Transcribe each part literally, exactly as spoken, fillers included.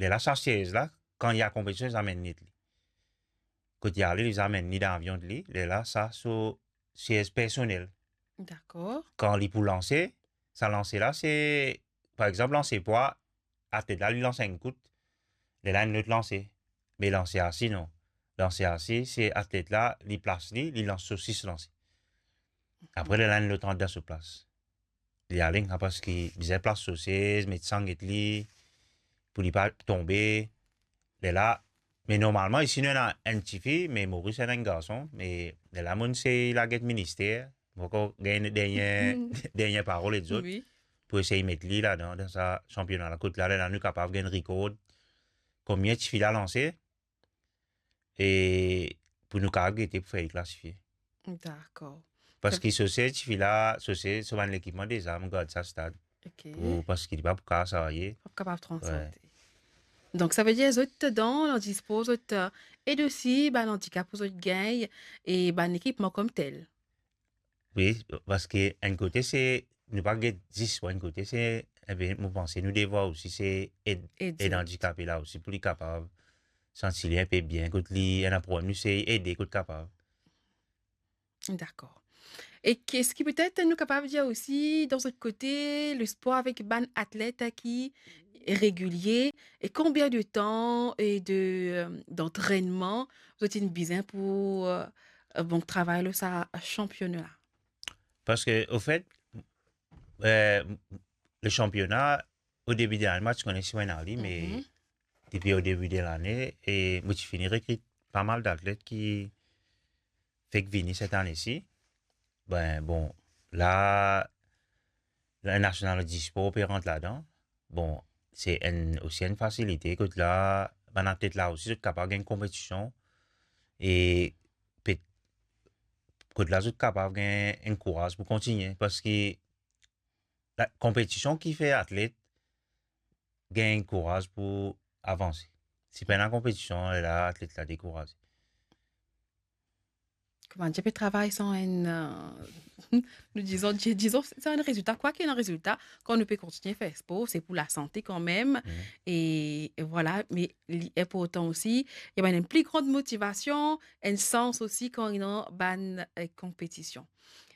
Lerla sa siez la, kan li al konpetision, li amenn li li. Kot li ale, li amenn li dan avion li, lerla sa so siez personel. Dakor. Kan li pou lanse, sa lanse la, se, par exanp, lanse pwa, atlet la, li lans enn kout, lerla enn lot lanse. Me lanse asi, non. Lanse asi, se atlet la, li plas li, li lans so sis lanse. Apre, lerla enn lot rant dan so plas. Li ale, parski bizin plas so siez, met sanglet li, pou li pa tonbe. Lerla, me normalman, isi nou ena enn tifi, me Moris ena enn garson, me lerla mo'nn sey la get minister, mo ankor gagn dernie, dernie parol ek zot, Wi. Pou esey met li ladan, dan sa sanpiona la, kot la, lerla nou kapav gagn rikord, konbien tifi la lanse, e pou nou kapav gete pou fer li klasifie. Dakor. Parski so siez tifi la, so siez, so bann lekipman deza, mo gard sa stad. Ok. Pou, parski li pa pou kapav sarye. Pa kapav transante. Donk, savedir zot dan landispor, zot, euh, ed osi bann andikap pou zot gagn e bann ekipman koumtel. Wi, parski enn kote se, nou pa get zis pou enn kote se, enn pe, mo panse nou devwar osi se ed, Ed ed zot. Andikape la osi pou li kapav santi li enpe bien, kot li ena problem, nou se ede kot kapav. Dakor. E eski petet nou kapav dir osi, dan zot kote, lespor avek bann atlet ki regilie, e konbien de tan e de, euh, d'antrenman zot inn bizin pou, euh, bon, travay lor sa sanpiona la? Parski, ofet, euh, le sanpiona, o debi de lane, mo ti kone si mo ena li, me Mhm. depi o debi de lane, e mo ti fini rekrit pa mal datlet ki fek vini set ane si. Ben, bon, la, la National Dispor pe rant ladan. Bon, se enn, osi enn fasilite, kot la, bann atlet la osi, zot kapav gagn konpetision, e pe, kot la, zot kapav gagn enn kouraz pou kontigne, parski la, konpetision ki fer atlet gagn kouraz pou avanse. Si pena konpetision, la, atlet la dekouraze. Kouma dir, pe travay san enn, euh, nou dizon, di-, dizon, san enn rezilta. Kwa ki ena rezilta, kan nou pe kontigne fer spor, se pou lasante kanmem. Mhm. E, e vwala, me li inportan osi, ena enn pli gran motivasion, enn sans osi kan ena bann, euh, konpetision.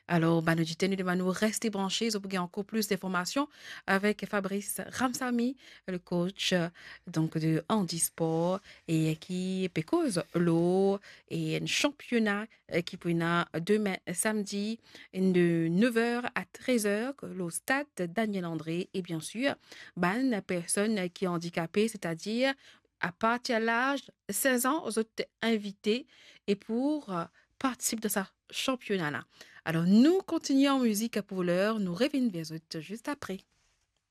Alor, bann oditer, nou demann nou reste branche, zot pou gagn ankor plis dinformasion avek Fabrice Ramsamy, le coach, euh, donc de handisport, e ki pe koz lor enn sanpiona, euh, ki pou ena demin samdi de nev er a trez er lor stad Daniel André. E bien sir, bann personn ki andikape, setadir a partir laz sez an, zot invite e pou, euh, partisip dan sa sanpiona la. Alor, nou kontigne an mizik pou ler, nou revinn ver zot zis apre.